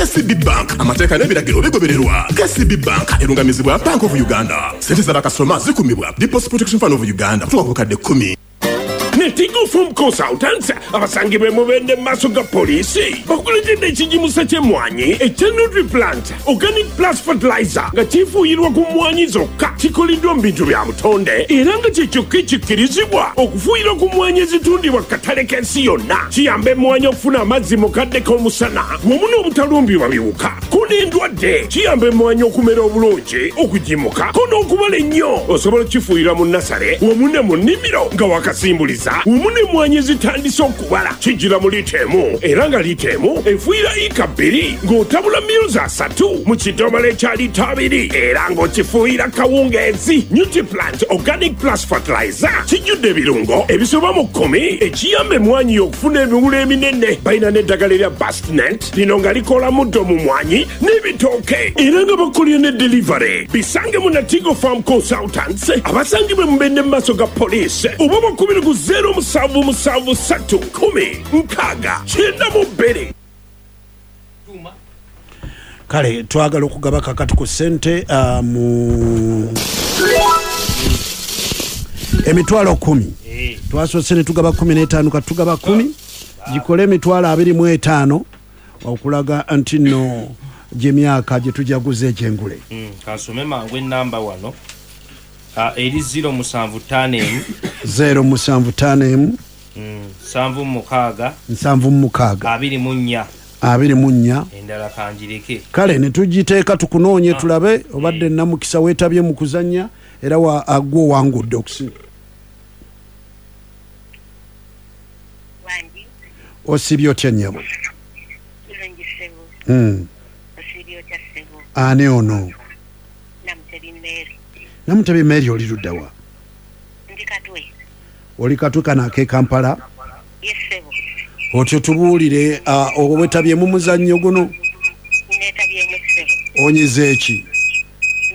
KCB Bank, amateeka n'ebiragiro bigobererwa. KCB Bank erungamizibwa Bank of Uganda. Sente z'abakasitoma zikumibwa Deposit Protection Fund of Uganda kutuuka ku bukadde 10. Netigo Farm Consultants abasangibwa e Mubende mu maaso ga poliisi bakuleetedde ekigimusa ky'emmwanyi ekya Nutriplant Organic Plus Fertilizer nga kifuuyirwa ku mmwanyi zokka. Kikoleddwa mu bintu bya butonde era nga kye kyokka ekikkirizibwa okufuuyirwa ku mmwanyi ezitundibwa ku katale k'ensi yonna. Kiyamba emmwanyi okufuna amazzi mu kadde k'omusana wamu n'obutalumbibwa biwuka ko n'endwadde. Kiyamba emmwanyi okumera obulungi, okugimuka ko n'okubala ennyo. Osobola okukifuuyira mu nnasale wamu ne mu nnimiro nga wakasimbuliza wamu n'emmwanyi ezitandise okubala. Kijjira mu liita emu era nga liita emu efuuyira yiika bbiri ng'otabula mils asatu mu kidomola ekya liita abiri era ng'okifuuyira kawungeezi. Nutriplant Organic Plus Fertilizer kijjudde ebirungo ebisoba mu kkumi ekiyamba emmwanyi yo okufuna emiwulo eminene. Balina n'eddagala erya Bastnat, lino nga likola muddo mu mwanyi n'ebitooke era nga bakolera ne delivery. Bisange mu Natigo Farm Consultants abasangibwa e Mubende mu maaso ga poliisi oba bakubire ku zeero musanvu musanvu ssatu kkumi nkaaga kyenda mu bbiri. Kale twagala okugaba kakati ku sente mu emitwalo 10. Twasoose ne tugaba 15, kati tugaba 10, gikole emitwalo 25 okulaga nti nno gy'emyaka gye tujaguza egy'engule. Kansome mangu ennamba wano. Eri ziro musanvu ttaano emu. Zero musanvu ttaano emu. Nsanvu mu mukaaga. Nsanvu mu mukaaga. Abiri mu nnya. Abiri mu nnya. Endala kangireke. Kale ne tugiteeka tukunoonye tulabe obadde namukisa weetabye mu kuzannya era wa gwe owangudde okusinga. Wangi. Osiibye otya nnyabo? Bulungi ssebo. Osiibye otya ssebo? Ani ono? Namutebi Mary. Namutebi Mary, oli ludda wa? Ndi Katwe. Oli Katwe kano ak'e Kampala? Yes ssebo. Otyo tubuulire, weetabye mu muzannyo guno? Neetabyemu ssebo. Onyize ki?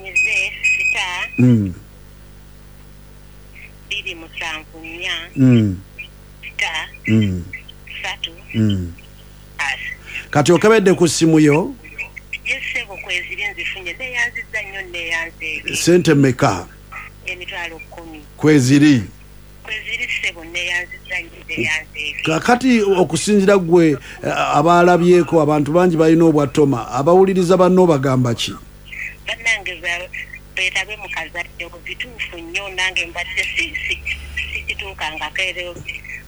Nyize star 274 star 3 as. Kati okebedde ku ssimu yo? Yes ssebo, kweziri nzifunye. Neeyanzizza nnyo, nneeyanzeege. Ssente mmeka? Emitwalo 10. Kweziri? Kweziri ssebo, nneeyanzizza nnyo, nneeyanzeege. Kakati okusinziira ggwe abaalabyeko, abantu bangi balina obwattoma, abawuliriza banno obagamba ki? Bannange beetabe mu kazannyo, bituufu nnyo, nange mbadde sikituukangako era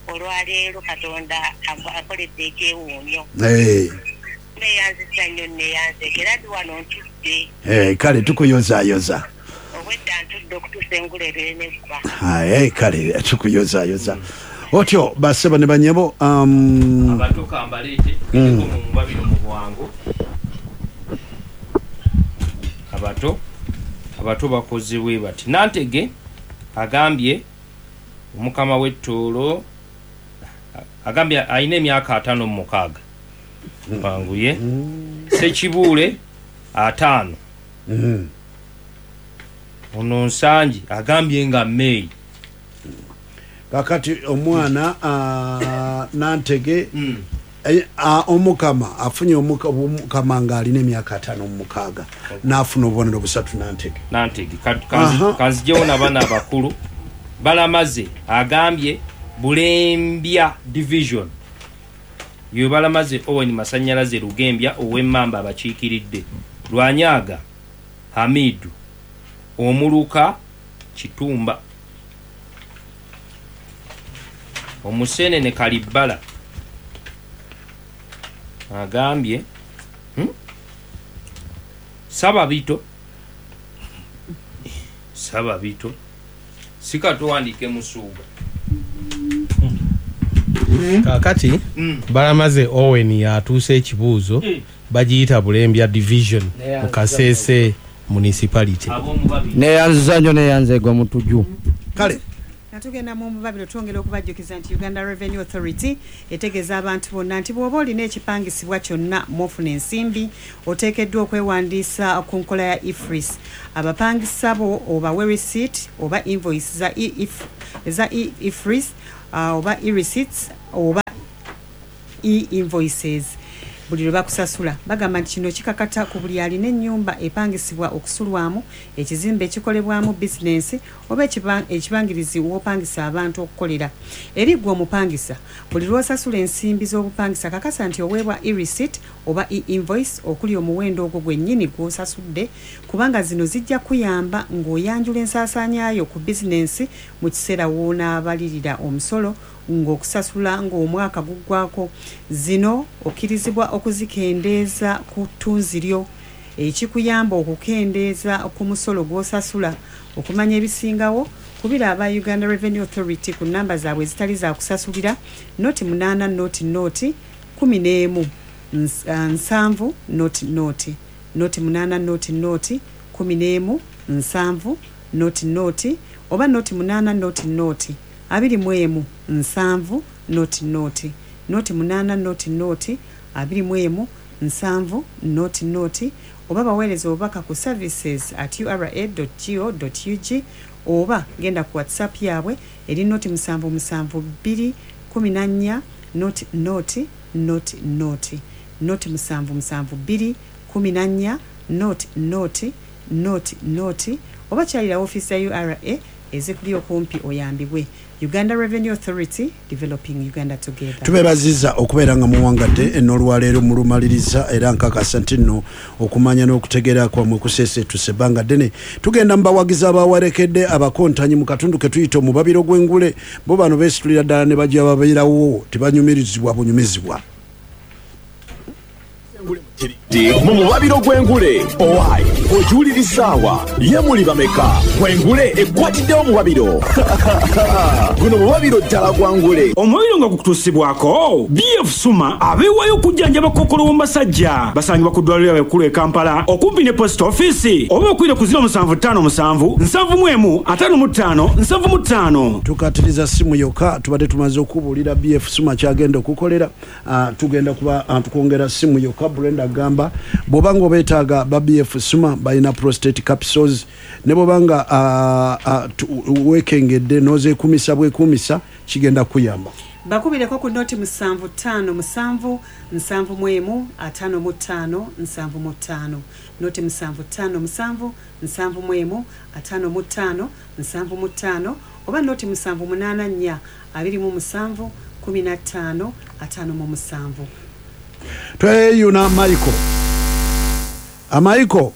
olwaleero Katonda akoledde ekyewuunyo. Nneeyanzizza nnyo, nneeyanzeege era ndi wano ntudde. Kale tukuyozaayoza. Obwedda ntudde okutuusa engule ebeere neggwa. Kale tukuyozaayoza. Otyo bassebo ne bannyabo, Abato kambaleete tugende mu mubabiro mu bwangu. Abato bakoze bwe bati. Nantege agambye omukama w'ettoolo agambye alina emyaka 56. Banguye. Ssekibuule 50. Ono Nsangi agambye nga May. Kakati omwana Nantege, omukama afunye omukama ng'alina emyaka 56 n'afuna obubonero busatu Nantege. Nantege. Kanzijewo n'abaana abakulu. Balamaze agambye Bulembya Division. Ye Balamaze Owen Masanyalaze Lugembya ow'Emmamba abakiikiridde. Lwanyaga Hamidu omuluka Kitumba. Omusenene Kalibbala agambye, Sababito. Sababito. Sika tuwandiike Musuuga. Kaakati Balamaze Owen y'atuusa ekibuuzo, bagiyita Bulembya Division mu Kasese Municipality. Neeyanziza nnyo, neeyanzeegwa Mutuju. Kale. Nga tugenda mu mubabiro, twongera okubajjukiza nti Uganda Revenue Authority etegeeza abantu bonna nti bw'oba olina ekipangisibwa kyonna mw'ofuna ensimbi, oteekeddwa okwewandiisa ku nkola ya EFRIS. Abapangisa bo obawe receipt oba invoice eza EFRIS, oba e-receipts oba e-invoices. Buli lwe bakusasula. Bagamba nti kino kikakata ku buli alina ennyumba epangisibwa okusulwamu, ekizimbe ekikolebwamu bizinensi oba ekibangirizi w'opangisa abantu okukolera. Eri ggwe omupangisa, buli lw'osasula ensimbi z'obupangisa kakasa nti oweebwa e-receipt oba e-invoice okuli omuwendo ogwo gwennyini gw'osasudde kubanga zino zijja kukuyamba ng'oyanjula ensaasaanya yo ku bizinensi mu kiseera w'onaabalirira omusolo ng'okusasula ng'omwaka guggwaako. Zino okkirizibwa okuzikendeeza ku ttunzi lyo ekikuyamba okukendeeza ku musolo gw'osasula. Okumanya ebisingawo, kubira aba Uganda Revenue Authority ku nnamba zaabwe ezitali za kusasulira, noti munaana noti noti 11 nsanvu noti noti, noti munaana noti noti 11 nsanvu noti noti oba noti munaana noti noti 21 nsanvu noti noti, noti munaana noti noti 21 nsanvu noti noti oba baweereze obubaka ku services at ura dot go dot ug oba genda ku WhatsApp yaabwe eri noti musanvu musanvu bbiri 14 noti noti noti noti, noti musanvu musanvu bbiri 14 noti noti noti noti oba kyalira woofiisi za ura ezikuli okumpi oyambibwe. Uganda Revenue Authority, developing Uganda together. Tubebaziza okubeera nga muwangadde n'olwaleero mulumaliriza era nkakasa nti nno okumanya n'okutegeera kwammwe kuseeseetuse ebbanga ddene. Tugenda mu bawagizi abawerekedde abakontanyi mu katundu ke tuyita omubabiro gw'engule. Bo bano beesitulira ddala ne bajja babeerawo, tebanyumirizibwa bunyumizibwa. Mu mubabiro gw'engule owai ogiwulirizaawa ye muli bameka gw'engule ekwatiddewo mubabiro guno mubabiro ddala gwa ngule. Omubabiro nga gukutuusibwako BF Suma abeewaayo okujjanjaba kookolo w'omu basajja. Basangibwa ku ddwaliro lyabwe ekkulu e Kampala okumpi ne Post Office oba okuyita ku 0757 71 55 75. Tukatiriza ssimu yokka, tubadde tumaze okukubuulira BF Suma ky'agenda okukolera. Ah, tugenda kuba ah, tukwongera simu yokka. Brenda agamba bw'oba nga obeetaaga ba BF Suma balina prostate capsules, ne bw'oba nga ah, weekengedde n'ozeekuumisa bwekuumisa kigenda kukuyamba. Bakubireko ku noti musanvu ttaano musanvu nsanvu mu emu ataano mu ttaano nsanvu mu ttaano, noti musanvu ttaano musanvu nsanvu mu emu ataano mu ttaano nsanvu mu ttaano oba noti musanvu munaana nnya 27 15 57. Tweyuna Michael. Amaiko.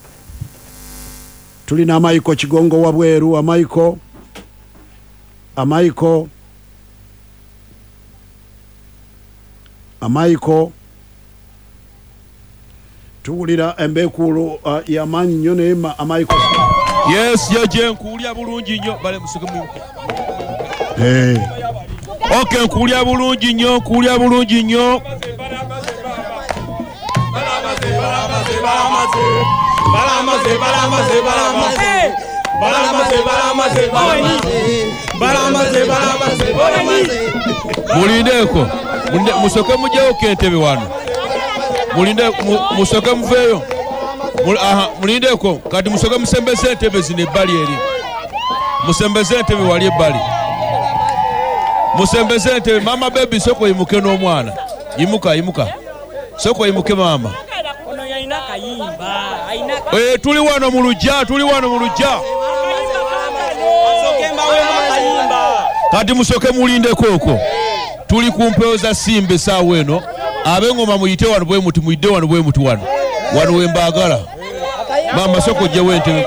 Tulina Amaiko Kigongo wabweru. Amaiko. Amaiko. Amaiko. Tuwulira embeekuulo y'amaanyi nnyo naye Amaiko. Yes, jeje nkuwulira bulungi nnyo. Bale museke mu. Hey. Okay, nkuwulira bulungi nnyo, nkuwulira bulungi nnyo. Mulindeeko, musoke mugyewo entebe wano. Mulinde, musoke muveeyo. Aha, mulindeeko, kati musoke musembeze entebe zino ebbali eri. Musembeze entebe wali ebbali. Musembeze entebe, maama baby sooka oyimuke n'omwana. Yimuka, yimuka. Sooka oyimuke maama. Tuli wano mu luggya, tuli wano mu luggya. Kati musooke mulindeko okwo. Tuli ku mpewo za Simba essaawa eno. Ab'engoma muyite wano bwe muti, muyidde wano bwe muti wano. Wano we mbaagala. Maama sooka oggyewo entebe.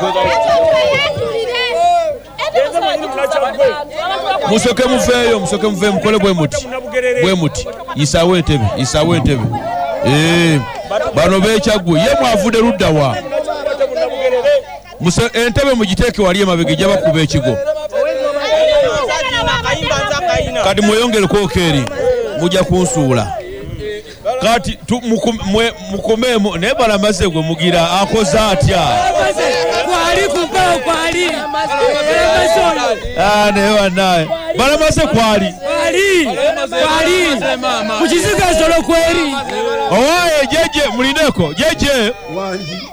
Musooke muveeyo, musooke muveeyo, mukole bwe muti. Bwe muti. Yisaawo entebe, yisaawo entebe. Bano b'e Kyaggwe. Ye mwavudde ludda wa? Entebe mugiteeke wali emabega ejja bakuba ekigo. Kati mweyongereko eri, mujja kunsuula. Kati mukomeemu naye Balamaze gwe mugira akoze atya? Kwali ku mpewo kwali. Naye bannaye. Balamaze kwali. Kwali. Kwali. Ku kizigo ensolo kweri. Owaye jeje mulindeko jeje.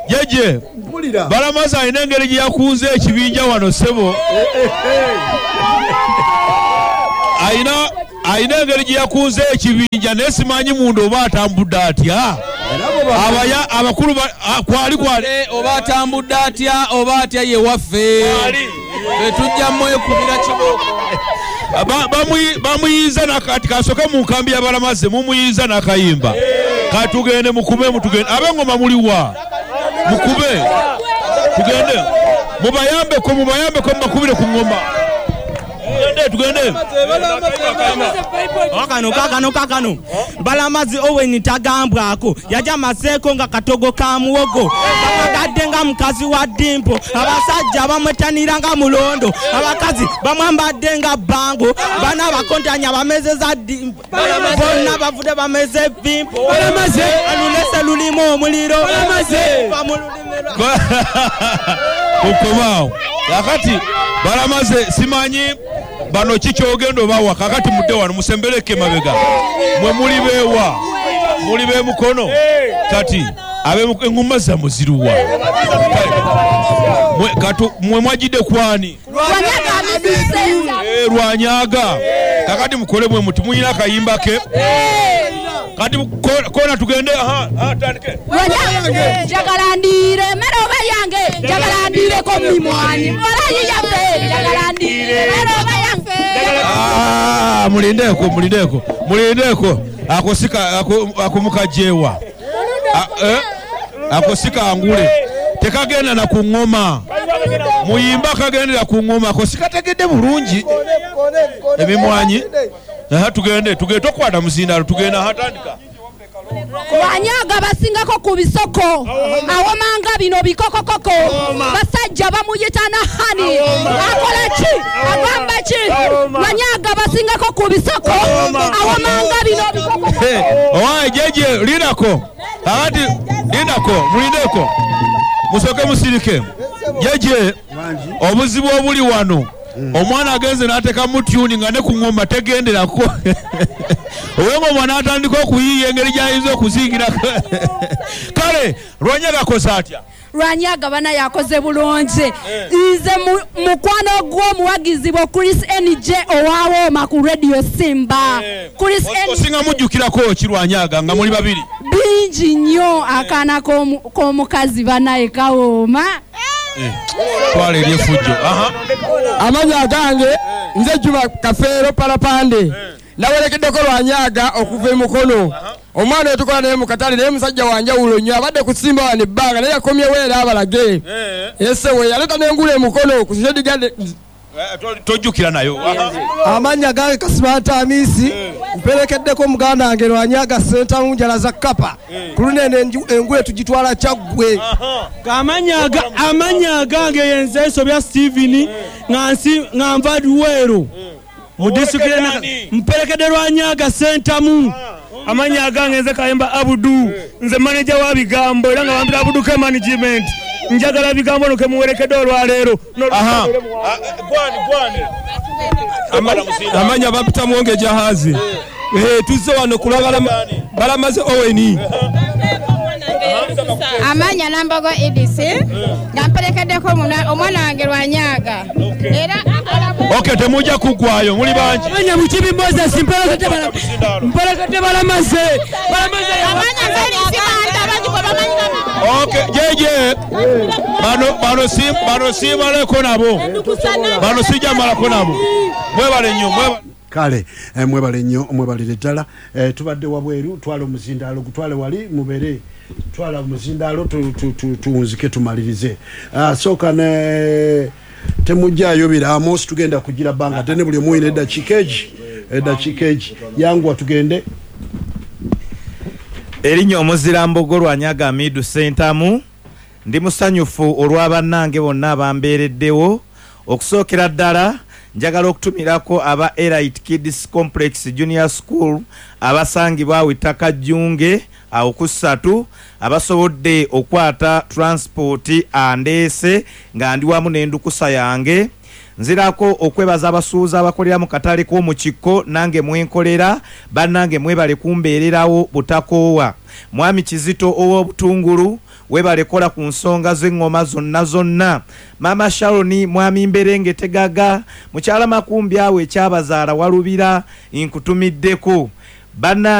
Jeje. Balamaze alina engeri gye yakunze ekibinja wano ssebo. Alina engeri gye yakunze ekibinja naye simanyi munda oba atambudde atya. Abaya abakulu kwali kwali oba atambudde atya oba atya ye waffe ffe tujja mwekubira kibooko. Bamuyiza nakati kasoke mu nkambi y'abalamaze, mumuyiza n'akayimba. Katugende mukube, mutugende. Ab'engoma muliwa? Mukube tugende, mubayambeko, mubayambeko, mubakubire ku ngoma. Tugende, tugende. Kano kakano kakano Balamazi Owen tagambwako, yajja maseeko nga katogo ka muwogo, bagadde nga mukazi wa dimpo, abasajja bamwetanira nga mulondo, abakazi bamwambadde nga bango, bana bakontanya bamezeza dimpo, bonna bavudde bameze bimpo. Alulese lulimu omuliro. Kukomaawo kakati Balamaze, simanyi bano kikyogenda obawa. Kakati mudde wano, musembereko emabega. Mwe muli beewa? Muli bemukono. Kati eŋŋoma zammwe ziruwa? Mwe mwajidde kwani? Lwanyaga. Kakati mukole bwe muti, muyina akayimba ke. Kati kona tugende, aha, tandike. Njagala ndiire emmere oba yange, njagala ndiireko mimwanyi walayi yaffe, njagala ndiire emmere oba yange. Ah, mulindeko, mulindeko, mulindeko. Ako sika ako mukajewa. Ako sika angule tekagenda na ku ngoma, muyimba kagendera ku ngoma. Ako sikategedde bulungi ebimwanyi. Aha, tugende, tugende, tokwata muzindalo, tugende. Aha, tandika. Lwanyaga basingako ku bisoko, awomanga bino bikokokoko, basajja bamuyita na hani, akola ki, agamba ki? Lwanyaga basingako ku bisoko, awomanga bino bikokokoko. Owaye jeje, lindako. Kakati lindako, mulindeko, musoke musirike. Jeje, obuzibu obuli wano, omwana agenze n'ateekamu tune nga ne ku ngoma tegenderako. Ow'engoma n'atandika okuyiiya engeri gy'ayinza okuzingirako. Kale Lwanyaga akoze atya? Lwanyaga bana yakoze bulungi. Nze mukwano gw'omuwagizi bwo Chris NJ owawooma ku Radio Simba. Chris N Osinga mujjukirako ki Lwanyaga nga muli babiri? Bingi nnyo. Akaana k'omukazi banaye kawooma. Twala eri efujjo. Aha. Amanya agange nze Juma Kafeero Palapande, nawerekeddeko Lwanyaga okuva emukono. Omwana otukola naye mu katale, naye musajja wanjawulo nnyo, abadde kusimba wano ebbanga, naye yakomyewo era abalage ese we yaleeta n'engula emukono ku Shed. Tojjukira nayo. Amannya gange Kasimanta Amisi, mperekeddeko muganda wange Lwanyaga Sentamu njala za kapa. Ku lunene engule tugitwala Kyaggwe. Amanya agange yenze Nsobya Steven, nga nva Luweero mu disitulikiti, mperekedde Lwanyaga Sentamu. Amanya agange nze Kayemba Abudu, nze manager wa bigambo era nga bambira Abudu ke management. Njagala bigambo no kemuwerekedde olwaleero. Aha. Gwani, gwani? Amanya bapita Mwonge Jahazi. Tuzze wano kulaba Balamaze Oweni. Amanya Nambogo Edisi, nga mperekeddeko omwana wange Lwanyaga era akola. Okay, temujja kuggwayo, muli bangi. Amanya Mukibi Moses, mperekedde Balamaze. Balamaze. Amanya Felix Manta, bangi gwe bamanyi. Okay, jeje, bano si bano simaleko nabo, bano sijjamalako nabo. Mwebale nnyo, mwebale. Kale mwebale nnyo, mwebalire ddala. Tubadde wabweru, twala omuzindaalo, gutwale wali mubere, twala omuzindaalo tuwunzike tumalirize. Ah, sooka ne temujjayo biraamo, tugenda kugira bbanga ddene, buli omu oyina eddakiika egi, eddakiika egi. Yanguwa tugende. Erinnya omuzirambogo Lwanyaga Amidu Sentamu. Ndi musanyufu olw'abannange bonna abambeereddewo. Okusookera ddala njagala okutumirako aba Elite Kids Complex Junior School abasangibwa awo ettaka Jjunge awo ku ssatu, abasobodde okwata transport andeese nga ndi wamu n'endukusa yange. Nzirako okwebaza abasuubuzi abakolera mu katale k'omukikko nange mwenkolera, bannange mwebale kumbeererawo butakoowa. Mwami Kizito ow'obutungulu, webale kola ku nsonga z'eŋŋoma zonna zonna. Maama Sharoni, mwami Mberenge Tegaga, mukyala Makumbi awo ekyabazaala Walubira, nkutumiddeko bannange.